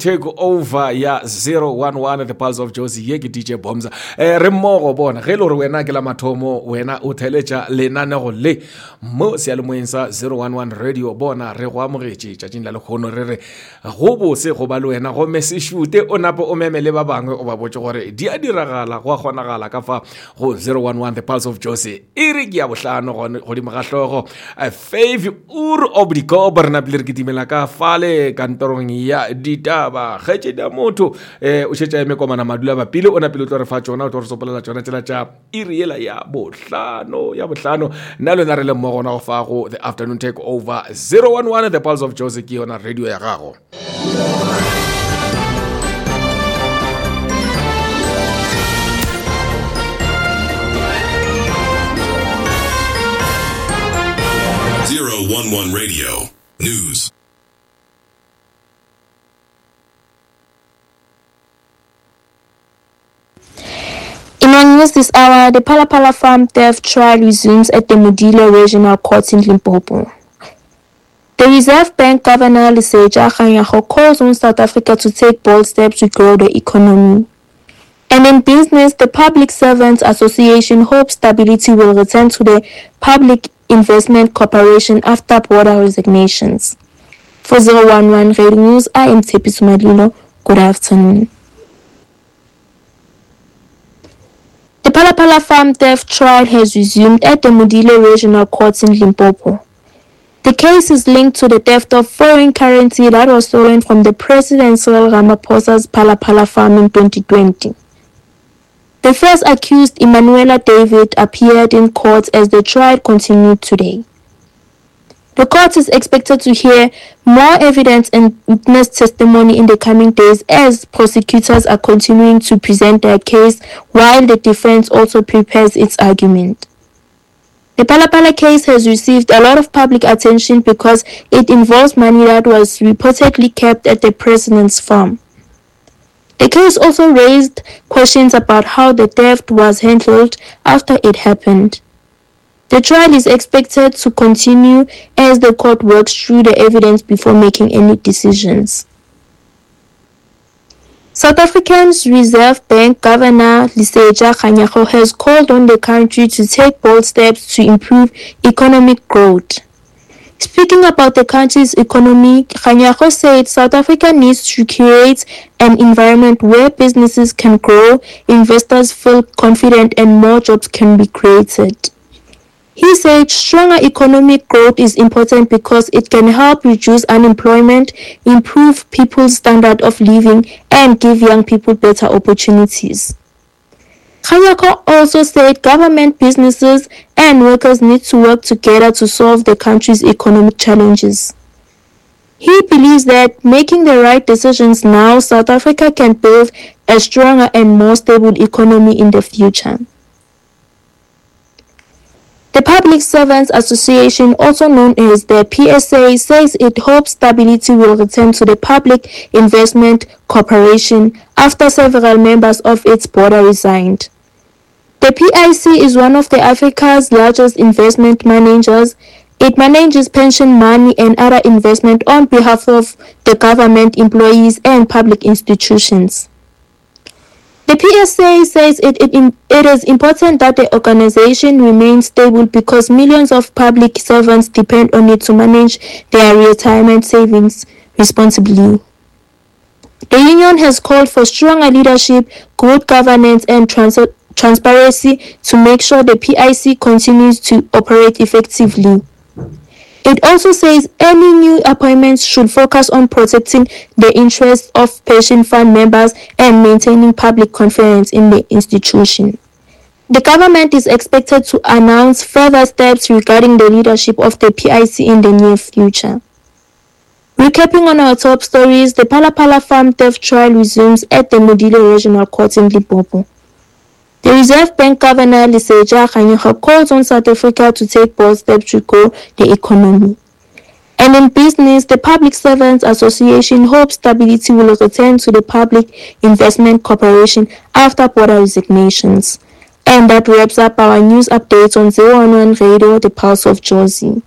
Take over ya 011 The Pulse of Jozi. Ye ke DJ Bomza. Eh, re mmogo bona ge e le gore wena ke la mathomo wena o theletša lenanego le mo seyalemoyeng sa 011 radio. Bona re go amogetše tšatšing la lekgono, re re go bose go ba le wena, gomme se šute o nape o meme le ba bangwe o ba botše gore di a diragala, go a kgonagala ka fa go 011 The Pulse of Jozi. E re ke ya bohlano godimo ga hlogo. Fave ur obdikobo re napile re kitimela ka fale kantorong ya ditaba. Kgaetšedi ya motho um o šetša eme komana madula bapile, o napile o tlo re fa tšona, o tlo re sopolela tšona tsela tša iri yela ya bohlano, ya bohlano. Nna le wena re le mmogo gona go fa go The Afternoon Take Over 011 The Pulse of Jozi, ke yona radio ya gago. 011 Radio News. In our news this hour, the Phala Phala farm theft trial resumes at the Modilwe Regional Court in Limpopo. The Reserve Bank Governor Lesetja Kganyago calls on South Africa to take bold steps to grow the economy. And in business, the Public Servants Association hopes stability will return to the Public Investment Corporation after border resignations. For 011 Radio News, I am Tshepiso Madlilo. Good afternoon. The Phala Phala farm theft trial has resumed at the Modilwe Regional Court in Limpopo. The case is linked to the theft of foreign currency that was stolen from the President Cyril Ramaphosa's Phala Phala farm in 2020. The first accused, Emanuela David, appeared in court as the trial continued today. The court is expected to hear more evidence and witness testimony in the coming days as prosecutors are continuing to present their case while the defense also prepares its argument. The Phala Phala case has received a lot of public attention because it involves money that was reportedly kept at the president's farm. The case also raised questions about how the theft was handled after it happened. The trial is expected to continue as the court works through the evidence before making any decisions. South Africa's Reserve Bank Governor Lesetja Kganyago has called on the country to take bold steps to improve economic growth. Speaking about the country's economy, Kganyago said South Africa needs to create an environment where businesses can grow, investors feel confident, and more jobs can be created. He said stronger economic growth is important because it can help reduce unemployment, improve people's standard of living, and give young people better opportunities. Kganyago also said government, businesses, and workers need to work together to solve the country's economic challenges. He believes that making the right decisions now, South Africa can build a stronger and more stable economy in the future. The Public Servants Association, also known as the PSA, says it hopes stability will return to the Public Investment Corporation after several members of its board resigned. The PIC is one of the Africa's largest investment managers. It manages pension money and other investment on behalf of the government, employees, and public institutions. The PSA says it is important that the organization remains stable because millions of public servants depend on it to manage their retirement savings responsibly. The union has called for stronger leadership, good governance, and transparency to make sure the PIC continues to operate effectively. It also says any new appointments should focus on protecting the interests of pension fund members and maintaining public confidence in the institution. The government is expected to announce further steps regarding the leadership of the PIC in the near future. Recapping on our top stories, the Phala Phala farm theft trial resumes at the Modilwe Regional Court in Limpopo. The Reserve Bank Governor Lesetja Kganyago calls on South Africa to take bold steps to grow the economy. And in business, the Public Servants Association hopes stability will return to the Public Investment Corporation after border resignations. And that wraps up our news updates on 011 Radio, the Pulse of Jozi.